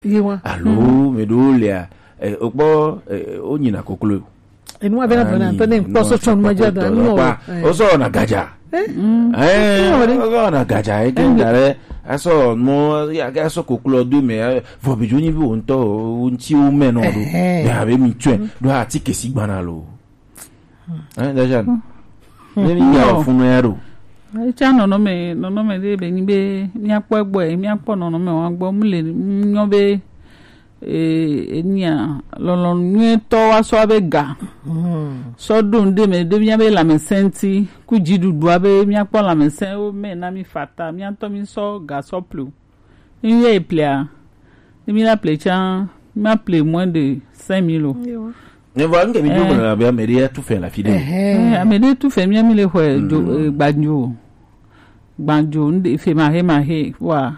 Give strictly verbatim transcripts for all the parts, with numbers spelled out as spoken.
Ye wa. Alo, me ɖo lea, eh, okpɔ, eh, o nyina koklo. Enu ave na dɔ na tɔ ne kpɔ so tsɔn ma dza da ni o. O so na gadza. Eh? Eh, o so na gadza, e ke da re. Aso mo, ya ke aso koklo do me, eh, vɔ bi jo nyi bi o ntɔ, o ntsi o me no do. Eh, eh. Me ave mi tsɔe, do ati kesi gbana lo. Hein, déjà. Ne mi ya funu ya ɖo. Etsa nɔnɔme, nɔnɔme ɖe be nyi be míakpɔ egbɔe, míakpɔ nɔnɔme wa gbɔ, mu le nyɔ be, eh, enia, lɔlɔ̃nu nyuitɔ wa sɔ be ga. Sɔ ɖo ŋɖe me ɖe mía be lãmesẽ ŋuti, ku dziɖuɖua be míakpɔ lãmesẽ wo me na mi fata, mía ŋutɔ mi sɔ ga sɔ ple o. Ne mi yɛ ple a, ne mi la ple tsã, ma ple moins de cinq mille o. Ne va ŋke mi do gblɔ na be ame ɖe ya tu fɛ la fi ɖe. Eh, ame ɖe tu fɛ mía mi le xɔe dzo, eh, gbandzo. Gbandzo, ŋɖe fe ma he ma he, wa.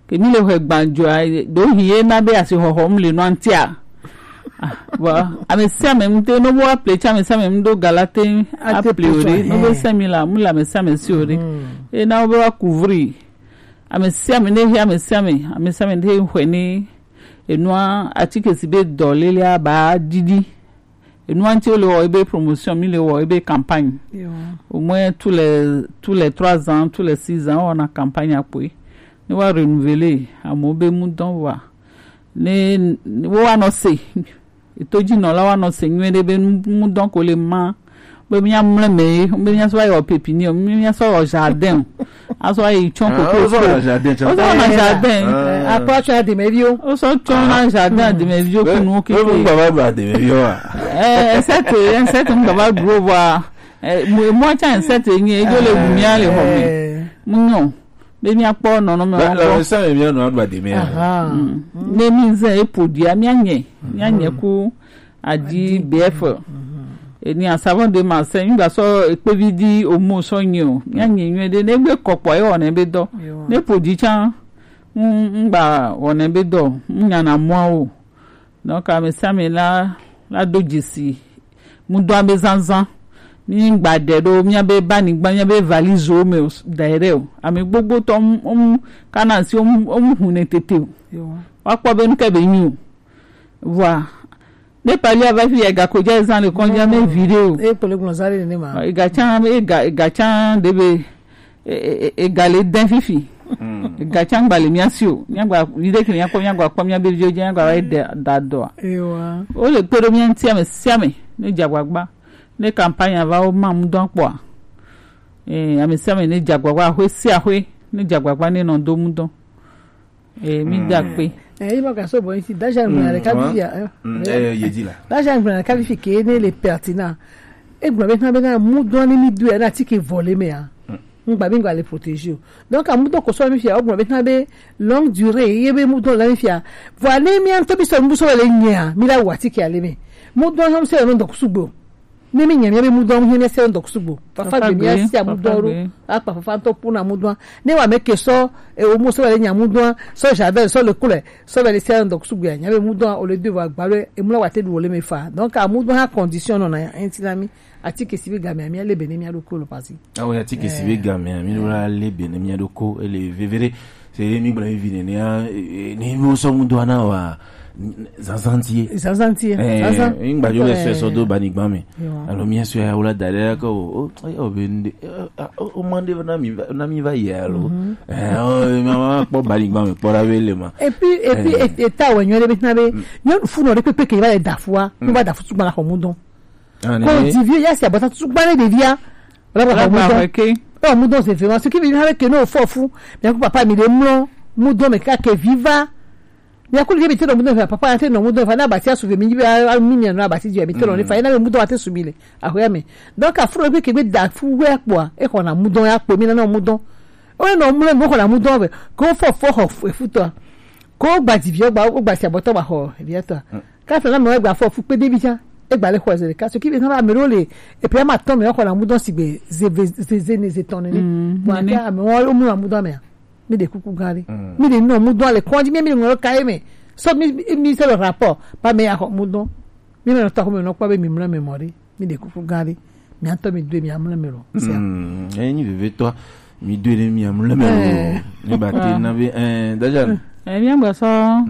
Ke mi le xɔe gbandzo a, do hi ye na be asi xɔxɔ mu le nɔ antia. Ah, bon, ame sia ame ŋute, no bo wa ple tsã, ame sia ame ŋdo gala te, a ple o ɖe, no be cinq mille la, mu le ame sia ame si o ɖe. E na wo be wa couvrir. Ame sia ame ne he, ame sia ame, ame sia ame ne he xɔe ne enua, atike si be dɔ lelea ba didi. Enua ŋuti wo le wɔ ebe promotion, mi le wɔ ebe campagne. Yo. Au moins tous les, tous les trois ans, tous les six ans, on a campagne akpoe. Ne wa renouveler, amewo be mu dɔn wa. Ne, ne wo wa nɔ se. Eto dzi nɔla wa nɔ se nyuie ɖe be nu, nu dɔn ko le ma. Be mía mlɛ me, be mía sɔ yɔ pépinière, be mía sɔ yɔ jardin. Asɔ yi tsɔn koko. Wosɔ na jardin tsɔn. Wosɔ na jardin. Akpɔ tsɔn adimɛviwo. Wosɔ tsɔn na jardin adimɛviwo kunu keke. Be mu gbava gba adimɛviwo a. Eh, insecte, insecte mu gbava duro vɔa. Eh, mu, mu tsã insecte nyi, edzo le wu mía le xɔ me. Mu nyɔ. Be míakpɔ nɔnɔme wɔn gbɔ. Le sã mía nɔ aɖu ademe ya. Ne mi zɛ epo dia, míanyɛ, míanyɛ ku adi B F. Eni asavɔ de ma se, mi gba sɔ ekpevi di omo sɔ nyi o. Míanyɛ nyuie ɖe, ne gbe kɔkpɔ ye wɔnɛ be dɔ. Ne po di tsã, ŋgba wɔnɛ be dɔ, ŋnya na mɔa o. Donc, ame sia ame la, la do dzesi mudɔa be zazã. Mi gba ɖe ɖo míabe banyigba, míabe valizewo me o, da ɖe o. Ame gbogbotɔ, wo mu, wo mu kana asi, wo mu, wo mu hu ne tete o. Wa kpɔ be nu ke be nyi o. Vɔa, ne pali ava fi ya, ega ko dza zã le kɔndzi ame vi ɖe o. E kpele gblɔ za ɖe ne ma. Ega tsã, ega, ega tsã ɖe be e, e, e, ega le dɛn fifi. Ega tsã gba le mía si o. Mía gba, vi ɖe ke mía kpɔ, mía gba kpɔ mía be viwo dzi, mía gba va yi de, da dɔa. Ewa. Wo le kpe ɖo mía ŋuti ame sia ame, ne dze agbagba. Ne campagne va, wo ma mudɔn kpɔa. Eh, ame sia ame ne dze agbagba, axwe sia axwe, ne dze agbagba, ne nɔ do mudɔn. Eh, mi da kpe. Eh, yi ma ka so bɔ isi, da ja ŋgblɔ ɖeka vi ya, eh. Eh, ye di la. Da ja ŋgblɔ ɖeka vi fi ke ne le pertinent. E gblɔ be na, be na mudɔn ni mi du ya na ti ke vɔ le me ya. Ŋgba mi ŋgba le protéger o. Donc, a mudɔn ko so mi fi ya, o gblɔ be na be longue durée, ye be mudɔn la mi fi ya. Vɔa ne mi an to bi so mbu so le nya, mi la wa ti ke ale me. Mudɔn hã se no donc sugbo. Ne mi nya mi be mudɔn, mi ne se ndo sugbo. Fafa gbe mi asi a mudɔn ro. Akpa fafa to puna mudɔn. Ne wa me ke so, e o mo so le nya mudɔn, so javel, so le kule, so le se ndo sugbo ya. Nya be mudɔn o le de wa gba le, e mu la wa te du o le me fa. Donc, a mudɔn ha condition no na, ainsi la mi. Atike si be game mi le be ne mi a do ko lo pasi. Ah oui, atike si be game mi la le be ne mi a do ko, e le vevere. Se mi gblɔ vi nene ya, eh, ni mo so mudɔn na wa, zazã ti ye. Zazã ti ye. Eh, zazã. Ŋgba jo le so so do banyigba me. Alo mi so ya wala da ɖe ko, o, o, o be nde, o, o, o mande na mi, na mi va ye alo. Eh, o, ma, ma kpɔ banyigba me, kpɔ la be le ma. Et puis, et puis, et, et ta wa nyɔ de be na be, nyɔ fu no de pepe ke va le da fu a, no va da fu tu gba la ko mudɔn. Ko di vie ya si abata tu gba le de via. Wala ba mudɔn. Oh, mudɔn, c'est vraiment ce qui veut dire que no fo fu. Mais ko papa mi de mlɔ, mudɔn me ka ke viva. Mi a ko le bi te no mudɔn fa, papa te no mudɔn fa, na basi a suve mi bi a mi mi no basi je mi te no fa, na mudɔn a te su mi le. A ho ya me. Donc a fro bi ke be da fu we kpɔ, e ko na mudɔn ya kpɔ mi na no mudɔn. O no mlɔ mo ko na mudɔn be. Ko fo fo ho fu to. Ko gba di vi o gba, o gba si abɔtɔ gba ho, vi to. Kasa na me gba fo fu kpe de bi tsã. E gba le xɔ ze ɖeka. Ce qui veut dire na me ɖo le, et puis ama tɔn me xɔ na mudɔn sigbe ze, ze, ze, ze ne ze tɔn nene. Bon, ake ame wo mu na mudɔn me. Mi de kuku gã ɖe. Mi de nɔ mudɔn le kɔndzi, mi, mi de ŋlɔ ka ye me. So mi, mi, mi se le rapport. Ba me ya xɔ mudɔn. Mi me nɔ tɔ xɔ me nɔ kpɔ be mi mlɔ me mɔ ɖe. Mi de kuku gã ɖe. Mi atɔ mi doe mi amlɔ me lɔ. Sia. Mm, enyi vevetɔ. Mi doe ne mi amlɔ me lɔ. Ne ba te na be, eh, Dajan. Eh, mi agba sɔ.